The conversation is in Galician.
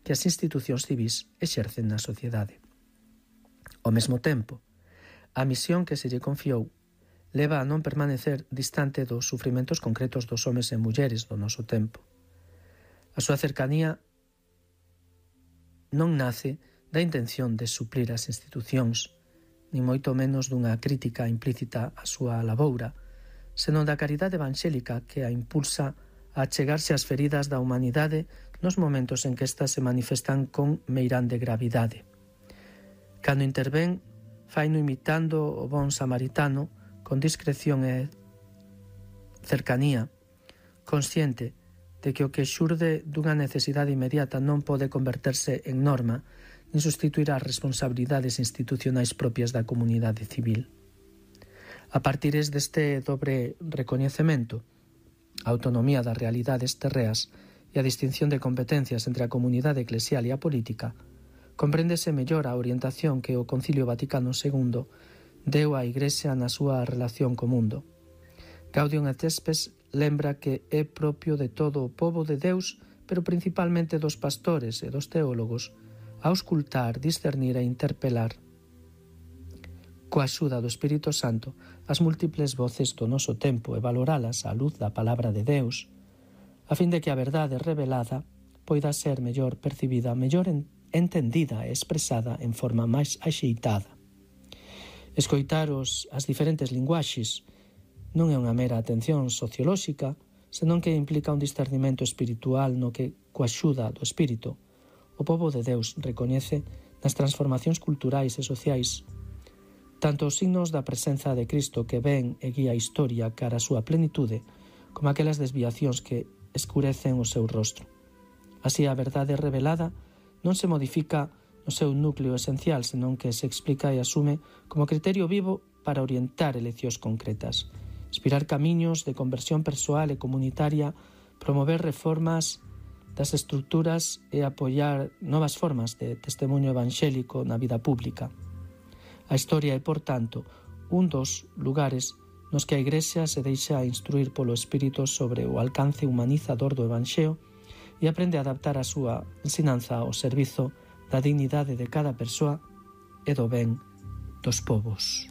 que as institucións civís exercen na sociedade. Ao mesmo tempo, a misión que se lle confiou leva a non permanecer distante dos sufrimentos concretos dos homes e mulleres do noso tempo. A súa cercanía non nace da intención de suplir as institucións, ni moito menos dunha crítica implícita á súa laboura, senón da caridade evangélica que a impulsa a achegarse ás feridas da humanidade nos momentos en que estas se manifestan con meirande gravidade. Cando intervén, faino imitando o bon samaritano, con discreción e cercanía, consciente de que o que xurde dunha necesidade inmediata non pode converterse en norma nin sustituir as responsabilidades institucionais propias da comunidade civil. A partir deste dobre recoñecemento, a autonomía das realidades terreas e a distinción de competencias entre a comunidade eclesial e a política, compréndese mellor a orientación que o Concilio Vaticano II deu á Igrexa na súa relación co mundo. Gaudium et Spes lembra que é propio de todo o pobo de Deus, pero principalmente dos pastores e dos teólogos, auscultar, discernir e interpelar, coa axuda do Espírito Santo, as múltiples voces do noso tempo e valoralas á luz da palabra de Deus, a fin de que a verdade revelada poida ser mellor percibida, mellor entendida e expresada en forma máis axeitada. Escoitar as diferentes linguaxes non é unha mera atención sociolóxica, senón que implica un discernimento espiritual no que, coa axuda do Espírito, o pobo de Deus recoñece nas transformacións culturais e sociais tanto os signos da presenza de Cristo que ven e guía a historia cara a súa plenitude, como aquelas desviacións que escurecen o seu rostro. Así, a verdade revelada non se modifica no seu núcleo esencial, senón que se explica e asume como criterio vivo para orientar eleccións concretas, inspirar camiños de conversión persoal e comunitaria, promover reformas das estruturas e apoiar novas formas de testemunho evangélico na vida pública. A historia é, por tanto, un dos lugares nos que a Igrexa se deixa instruir polo Espírito sobre o alcance humanizador do Evanxeo e aprende a adaptar a súa ensinanza ao servizo da dignidade de cada persoa e do ben dos povos.